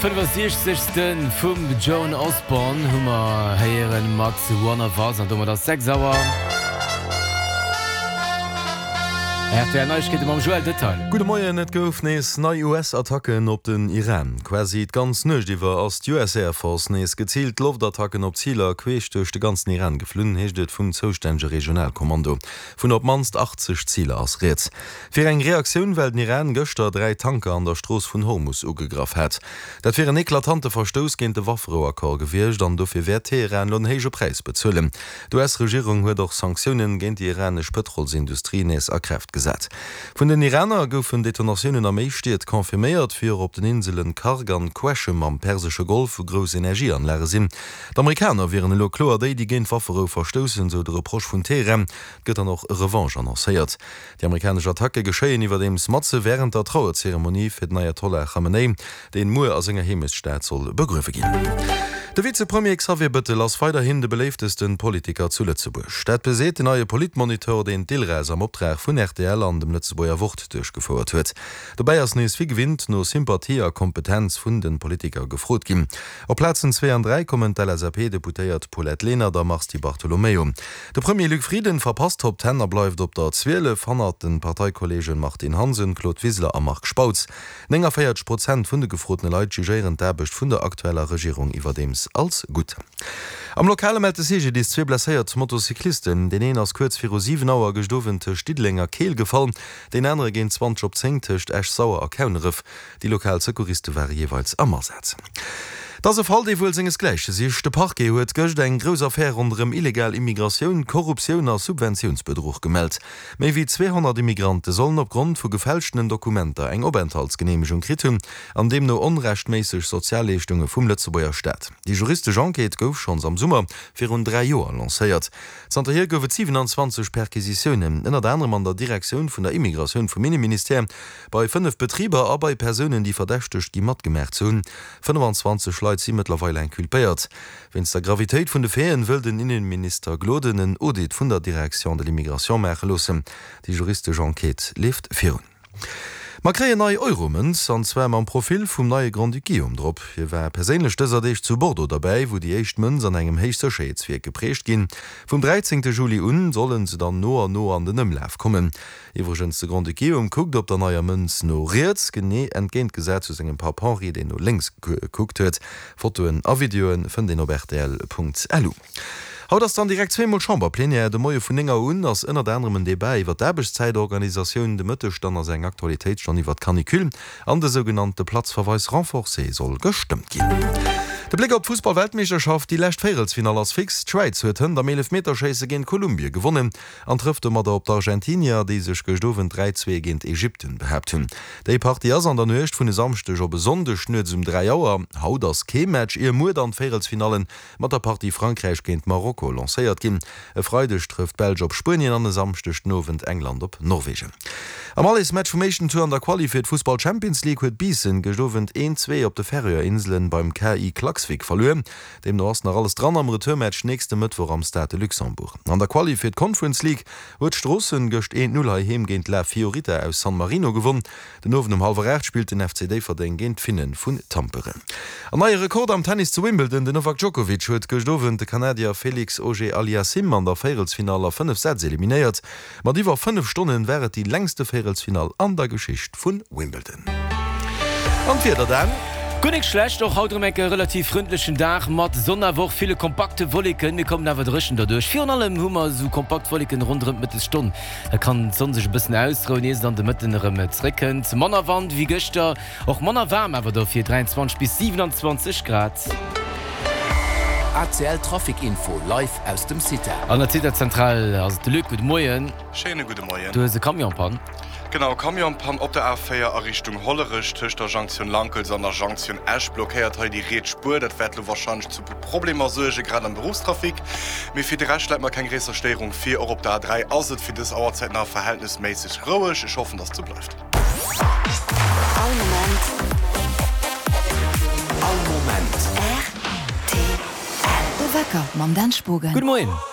65. Vum Joan Osborne hu mer héieren mat One of Us an domat ass 6 Auer. Rtl Neiegkeete mam Joël Detail. Gudde Moien, Et gouf nees nei US-Attacken op den Iran. Quasi d'ganz Nuecht iwwer ass d'US Air Force nees geziilt Loftattacken op Ziler queesch duerch de ganzen Iran geflunn, heescht et vum zoustännege Regionalkommando. Vun op d'mannst 80 Ziler ass rieds. Fir eng Reaktioun, well den Iran gëschter 3 Tanker an der Strooss vun Hormus ugegraff hat. Dat wier en eklatante Verstouss géint de Wafferouaccord gewiescht an dofir wäert Teheran lo en héije Präis bezuelen. D'US-Regierung huet och Sanktiounen géint déi iranesch Pëtrolsindustrie nees a Kraaft gesat. Vun den Iraner goufen Detonatiounen a méi Stied confirméiert, wéi och op den Inselen Kharg an Qeshm am persesche Golf, wou grouss Energieanlage sinn. D'Amerikaner wieren elo kloer déi, déi géint d'Wafferou verstoussen, sou de Reproche vun Teheran. Et gëtt dann och e Revanche annoncéiert. Déi amerikanesch Attacke geschéien iwwerdeems matze wärend der Trauerzeremonie fir den Ayatollah Khamenei, deen muer a senger Heemechtsstad soll begruewe ginn. De Vizepremier Xavier Bëttel ass weiderhin de beléiftesten Politiker zu Lëtzebuerg. Dat beseet den neie Politmonitor, deen d'ILRAS am Optrag vun rtl an dem Lëtzebuerger Wort duerchgefouert huet. Dobäi ass nees wéi gewinnt no Sympathie a Kompetenz vun de Politiker gefrot ginn. Op Plazen zwee an 3 kommen d'LSAP-Deputéiert Paulette Lenert a Mars Di Bartolomeo. De Premier Luc Frieden verpasst d'Top Ten a bleift op der 12, hannert de Parteikollegen Martine Hansen, Claude Wiseler a Marc Spautz. 49 Prozent vun de gefrotene Leit jugéieren d'Aarbecht vun der aktueller Regierung iwwerdeems als gutt. Am Lokale mellt de CGDIS zwee blesséiert Motocyclisten. Deen een ass kuerz viru 7 Auer gëscht Owend tëscht Diddeleng a Keel gefall, deen anere géint 20 op 10 tëscht Esch-Sauer a Kauneref. Déi lokal Secouriste ware jeeweils am Asaz. Et ass e Fall, dee wuel sengesgläiche sicht. De Parquet huet gëscht eng grouss Affär ronderëm illegal Immigratioun, Korruptioun a Subventiounsbedruch gemellt. Méi wéi 200 Immigrante sollen opgrond vu gefälschtenen Dokumenter eng Openthaltsgeneemegung kritt hunn an deemno onrechtméisseg Sozialleeschtunge vum Lëtzebuerger Staat. Déi juristesch Enquête gouf schonns am Summer virun 3 Joer lancéiert. Zanterhier gouf et 27 Perquisitiounen, ënnert anerem an der Direktioun vun der Immigratioun vum Inneministère. Bei 5 Betriber a bei Persounen, déi verdächtegt gi matgemaach ze hunn. 25 Leit si mëttlerweil inculpéiert. Wéinst der Gravitéit vun de Faiten wëll den Innenminister Gloden en Audit vun der Direction de l'immigration maache loossen. Déi juristesch Enquête leeft virun. Mer kréien nei Euromënz, an zwar mam Profil vum neie Grand-Duc Guillaume drop. Hie war perséinlech dëser Deeg zu Bordeaux derbäi, wou déi éischt Mënz an engem Héichsécherheetswierk geprägt ginn. Vum 13 Juli un solle se dann no an no an den Ëmlaf kommen. Iwwregens, de Grand-Duc Guillaume kuckt op der neier Mënz no riets, genee entgéintgesat zu sengem Papp Henri, deen no lénks gekuckt huet. Fotoen a Videoe fënnt een op rtl.lu. Haut ass dann direkt zweemol Chamberplenière. De Moie vun 9 Auer un ass ënnert anerem en Debat iwwer d'Aarbechtszäitorganisatioun. De Mëtteg dann ass eng Aktualitéitsstonn iwwer d'Canicule an de sougenannte Platzverweis renforcé soll gestëmmt ginn. De Bléck op d'Fussball-Weltmeeschterschaft, Déi lescht Véierelsfinall ass fix. D'Schwäiz huet hënt am Eelefmeterschéisse géint Kolumbie gewonnen. An trëfft domadder op d'Argentinier, déi sech gëscht Owend 3, 2 géint Ägypten behaapt hunn. Déi Partie ass an der Nuecht vun e Samschdeg op e Sonndeg nuets um 3 Auer. Haut ass kee Match, ier muer dann d'Véierelsfinallen mat der Partie Frankräich géint Marokko lancéiert ginn. E Freideg trëfft d'Belsch op Spuenien an e Samschdeg den Owend England op Norwegen. Am Allesmatch vum éischten Tour an der Quali fir d'Fussball-Champions League huet Biissen gëscht Owend 1, 2 op de Färöer Inselen beim KI Klaksvik verluer. Deemno ass nach alles dran am Retourmatch nächste Mëttwoch am Stade de Luxembourg. An der Quali fir d'Conference League huet Stroossen gëscht 1, 0 heiheem géint La Fiorita aus San Marino gewonn. Den Owend um hallwer 8 spillt den FC Déifferdeng géint d'Finne vun Tampere. An neie Rekord am Tennis zu Wimbledon, Den Novak Djokovic huet gëscht Owend de Kanadier Felix Auger-Aliassime an der Véierelsfinall a 5 Sätz eliminéiert. Mat iwwer 5 Stonnen war et déi längste Véierelsfinall an der Geschicht vun Wimbledon. An d'Wieder dann? Guer nik schlecht, och haut erëm enke relativ frëndlechen Dag mat Sonn awer och ville kompakte Wolleken. Mir kommen awer dréchen derduerch. Virun allem hu mer esou kompakt Wolleken ronderëm d'Mëttesstonn. Da kann d'Sonn sech e bëssen ausrouen, ier se dann de Mëtten erëm zréckkënnt. Manner Wand ewéi gëschter, och manner waarm awer dofir, 23 bis 27 Grad. ACL Trafic Info live aus dem CITA. An der CITA-Zentral ass et de Luc. Gudde Moien. Schéine gudde Moien. Du hues e Camion-Pann. Genau, Camion-Pann op der A4 a Richtung Hollerech tëscht der Jonktioun Lankels an der Jonktioun Esch blockéiert hei déi riets Spuer. Dat wäert elo warscheinlech zu puer Problemer suergen, grad am Beruffstrafic. Mee fir de Rescht läit mer keng gréisser Stéierung vir. Och op der A3 ass et fir dës Auerzäit nach verhältnesméisseg roueg. Ech hoffen, dass et sou bleift. All Moment. All Moment. Rtl. De Wecker mam Dan Spogen. Gudde Moien.